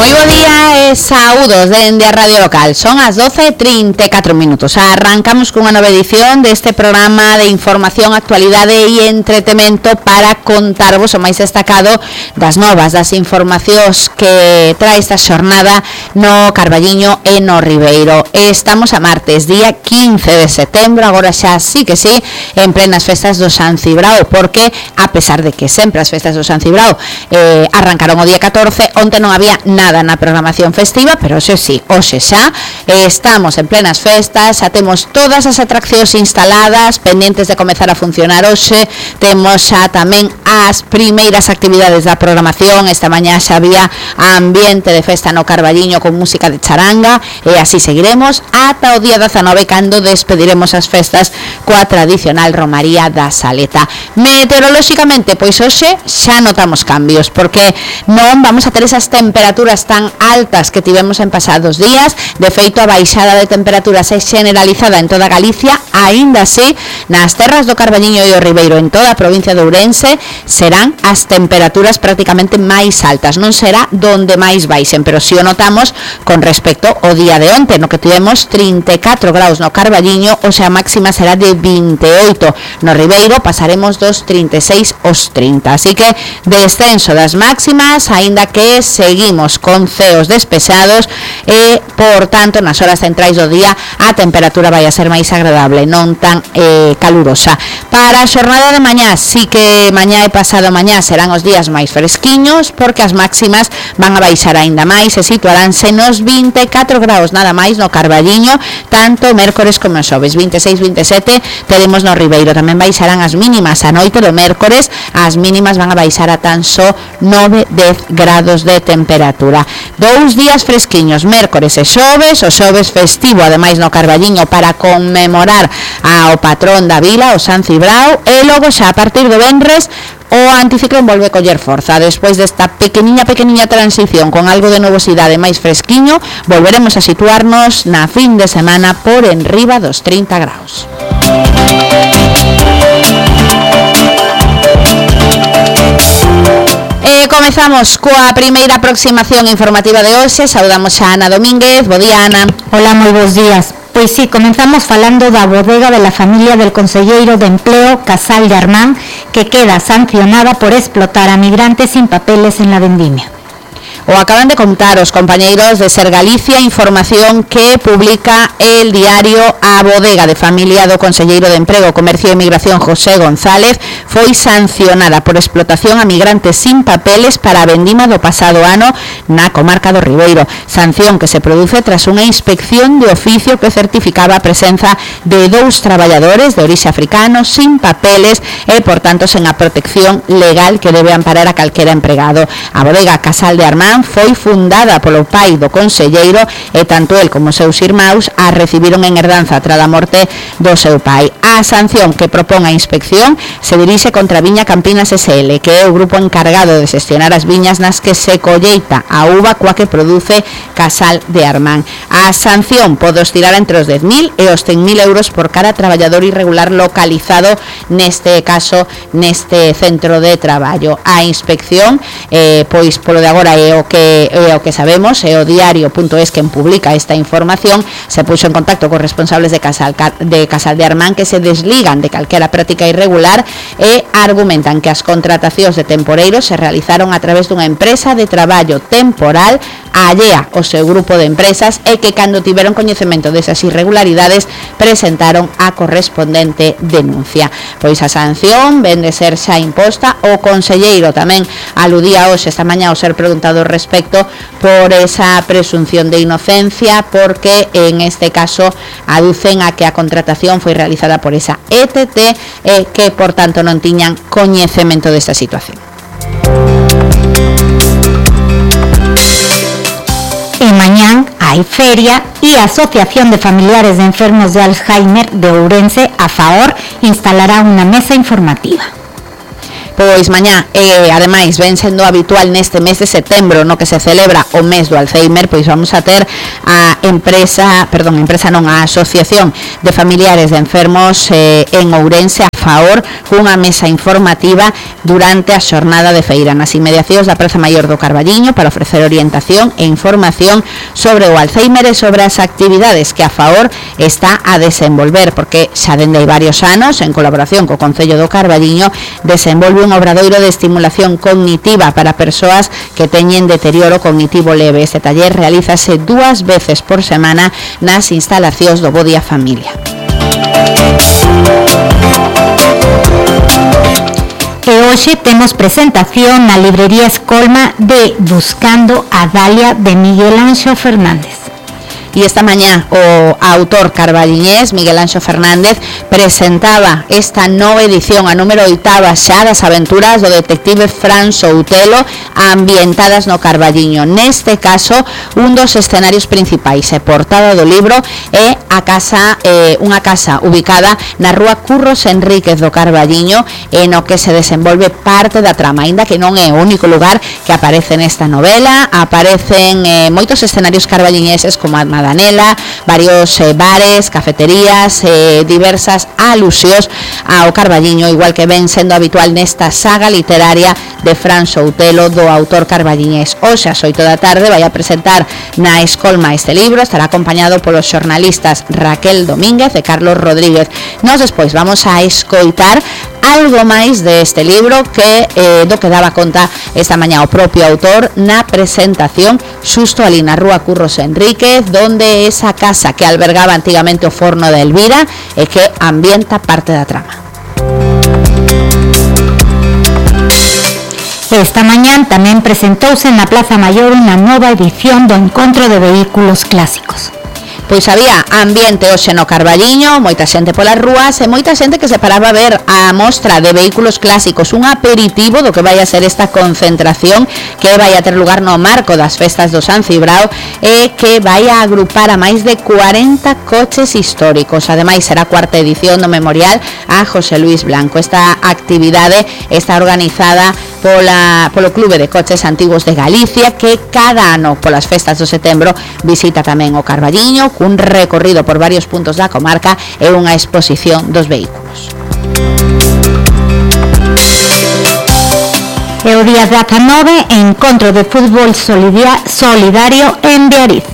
Moi bo día e saúdos dende a Radio Local. Son as 12:34 minutos. Arrancamos cunha nova edición deste programa de información, actualidade e entretemento para contarvos o máis destacado das novas, das informacións que trae esta xornada no Carballiño e no Ribeiro. Estamos a martes, día 15 de setembro, agora xa sí que sí, en plenas festas do San Cibrao, porque a pesar de que sempre as festas do San Cibrao arrancaron o día 14, onte non había nada na programación festiva, pero hoxe sí, hoxe xa estamos en plenas festas, xa temos todas as atraccións instaladas, pendientes de comezar a funcionar hoxe, temos xa tamén as primeiras actividades da programación. Esta mañá xa había ambiente de festa no Carballiño con música de charanga e así seguiremos ata o día 19, cando despediremos as festas coa tradicional romaría da Saleta. Meteorolóxicamente, pois hoxe xa notamos cambios, porque non vamos a ter esas temperaturas tan altas que tivemos en pasados días. De feito, a baixada de temperaturas é generalizada en toda Galicia, aínda así nas terras do Carballiño e o Ribeiro, en toda a provincia de Ourense, serán as temperaturas prácticamente máis altas. Non será donde máis baixen, pero si o notamos con respecto ao día de onte, no que tivemos 34 graus no Carballiño, o sea, a máxima será de 28. No Ribeiro pasaremos dos 36 aos 30. Así que descenso das máximas, aínda que seguimos con ceos despesados e, por tanto, nas horas centrais do día a temperatura vai a ser máis agradable, non tan calurosa. Para a xornada de mañá, sí que mañá e pasado mañá serán os días máis fresquiños, porque as máximas van a baixar aínda máis e situaránse nos 24 graus nada máis no Carballiño, tanto mércores como xoves. 26, 27 teremos no Ribeiro. Tamén baixarán as mínimas a noite do mércores, as mínimas van a baixar a tan só 9, 10 grados de temperatura. Dous días fresquiños, mércores e xoves, o xoves festivo ademais no Carballiño para conmemorar ao patrón da vila, o San Cibrao, e logo xa a partir do venres o anticiclón volve a coller forza. Despois desta pequeniña transición con algo de novosidade máis fresquiño, volveremos a situarnos na fin de semana por enriba dos 30 graus. Comezamos coa primeira aproximación informativa de hoxe. Saudamos a Ana Domínguez. Bo día, Ana. Hola, moi bons días. Pois sí, comenzamos falando da bodega de la familia del conselleiro de Empleo, Casal de Armán, que queda sancionada por explotar a migrantes sin papeles en la vendimia. O acaban de contar os compañeiros de Ser Galicia, información que publica el diario. A bodega de familia do conselleiro de Emprego, Comercio e Migración, José González, foi sancionada por explotación a migrantes sin papeles para a vendima do pasado ano na comarca do Ribeiro. Sanción que se produce tras unha inspección de oficio que certificaba a presenza de 2 traballadores de orixe africano sin papeles e, por tanto, sen a protección legal que debe amparar a calquera empregado. A bodega Casal de Armán foi fundada polo pai do conselleiro e tanto el como seus irmáns a recibiron en herdanza tras a morte do seu pai. A sanción que propón a inspección se dirixe contra Viña Campinas SL, que é o grupo encargado de xestionar as viñas nas que se colleita a uva coa que produce Casal de Armán. A sanción pode oscilar entre os 10.000 e os 100.000 euros por cada traballador irregular localizado, neste caso, neste centro de traballo. A inspección, pois polo de agora é o que sabemos, é o diario.es quen publica esta información. Se puxo en contacto cos responsables de Casal de Armán, que se desligan de calquera práctica irregular e argumentan que as contratacións de temporeiros se realizaron a través dunha empresa de traballo temporal allea ao seu grupo de empresas e que cando tiveron coñecemento desas irregularidades presentaron a correspondente denuncia. Pois a sanción ven de ser xa imposta. O conselleiro tamén aludía hoxe esta mañá ao ser preguntado respecto por esa presunción de inocencia, porque en este caso aducen a que a contratación foi realizada por esa ETT e que, por tanto, non tiñan coñecemento desta situación. E mañán hai feria e a Asociación de Familiares de Enfermos de Alzheimer de Ourense, a FAOR, instalará unha mesa informativa. Pois mañá, ademais, ven sendo habitual neste mes de setembro, no que se celebra o mes do Alzheimer, pois vamos a ter a Asociación de Familiares de Enfermos en Ourense, a FAOR, cunha mesa informativa durante a xornada de feira nas inmediacións da Praza Maior do Carballiño para ofrecer orientación e información sobre o Alzheimer e sobre as actividades que a FAOR está a desenvolver, porque xa dende hai varios anos, en colaboración co Concello do Carballiño, desenvolve un obradoiro de estimulación cognitiva para persoas que teñen deterioro cognitivo leve. Este taller realízase 2 veces por semana nas instalacións do Bo Día Familia. E hoxe temos presentación na librería Escolma de Buscando a Dalia de Miguel Anxo Fernández. E esta mañá o autor carballiñés Miguel Anxo Fernández presentaba esta nova edición, a número 8 xa das aventuras do detective Fran Soutelo ambientadas no Carballiño. Neste caso, un dos escenarios principais e portada do libro é a casa, unha casa ubicada na rúa Curros Enríquez do Carballiño, en o que se desenvolve parte da trama, aínda que non é o único lugar que aparece nesta novela. Aparecen moitos escenarios carballiñeses como a Madanela, varios bares, cafeterías, diversas alusións ao Carballiño, igual que ven sendo habitual nesta saga literaria de Fran Soutelo, do autor carballiñés. Hoxe ás 8 da tarde vai a presentar na Escolma este libro, estará acompañado polos xornalistas Raquel Domínguez e Carlos Rodríguez. Nós despois vamos a escoitar algo máis deste libro que do que daba conta esta mañá o propio autor na presentación xusto ali na rúa Curros Enríquez, donde esa casa que albergaba antigamente o forno de Elvira e que ambienta parte da trama. Esta mañán tamén presentouse na Plaza Maior unha nova edición do Encontro de Vehículos Clásicos. Pois había ambiente hoxe no Carballiño, moita xente polas rúas e moita xente que se paraba a ver a mostra de vehículos clásicos, un aperitivo do que vai a ser esta concentración que vai a ter lugar no marco das festas do San Cibrao e que vai a agrupar a máis de 40 coches históricos. Ademais, será a 4ª edición do memorial a José Luis Blanco. Esta actividade está organizada polo Clube de Coches Antigos de Galicia, que cada ano polas festas do setembro visita tamén o Carballiño, cun recorrido por varios puntos da comarca e unha exposición dos vehículos. E o día 19, encontro de fútbol solidario en Beariz.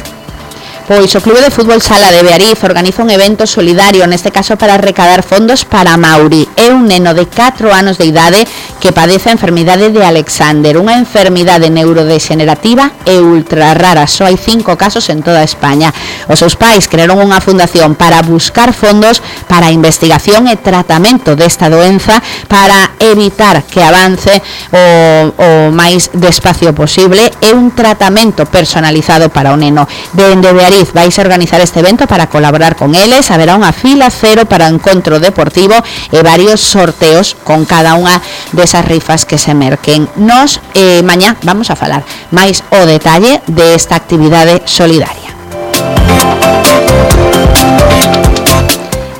Pois o Clube de Fútbol Sala de Beariz organiza un evento solidario, neste caso para recadar fondos para Mauri. É un neno de 4 anos de idade que padece a enfermidade de Alexander, unha enfermidade neurodegenerativa e ultra rara. Só hai 5 casos en toda España. Os seus pais crearon unha fundación para buscar fondos para a investigación e tratamento desta doenza, para evitar que avance o máis despacio posible. É un tratamento personalizado para o neno. Dende Beariz vais a organizar este evento para colaborar con eles. Haberá unha fila cero para o encontro deportivo e varios sorteos con cada unha desas rifas que se merquen. Nos mañá vamos a falar máis o detalle desta actividade solidaria.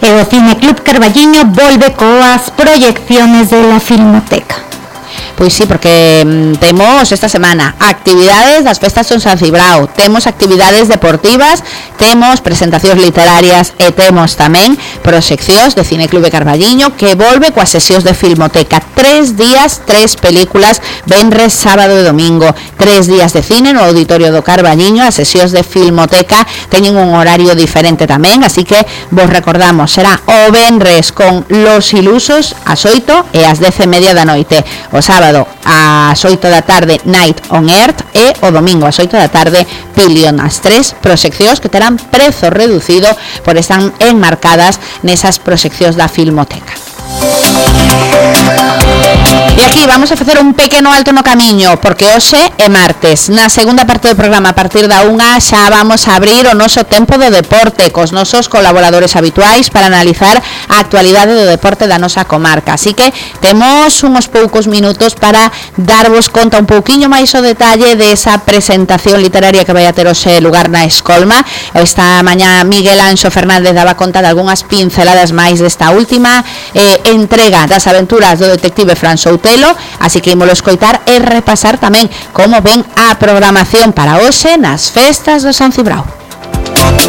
E o Cine Club Carballiño volve coas proyecciones de la Filmoteca. Pois sí, porque temos esta semana actividades das festas do San Cibrao, temos actividades deportivas, temos presentacións literarias e temos tamén proxeccións de Cine Club Carballiño, que volve coas sesións de Filmoteca. 3 días, 3 películas, venres, sábado e domingo. 3 días de cine no Auditorio do Carballiño. As sesións de Filmoteca teñen un horario diferente tamén, así que vos recordamos, será o venres con Los Ilusos ás 8 e ás 10:30 da noite. O sábado ás 8 da tarde Night on Earth e o domingo ás 8 da tarde Pilion. As 3 proxeccións que terán prezo reducido por están enmarcadas nesas proxeccións da Filmoteca. E aquí vamos a facer un pequeno alto no camiño, porque hoxe é martes. Na segunda parte do programa, a partir da 1, xa vamos a abrir o noso tempo do deporte cos nosos colaboradores habituais para analizar a actualidade do deporte da nosa comarca. Así que temos uns poucos minutos para darvos conta un pouquiño máis o detalle desa presentación literaria que vai a ter hoxe lugar na Escolma. Esta mañá Miguel Anxo Fernández daba conta de algunhas pinceladas máis desta última entrega das aventuras do detective Fran Soutelo, Compostelo, así que ímolo escoitar e repasar tamén como ven a programación para hoxe nas festas do San Cibrao.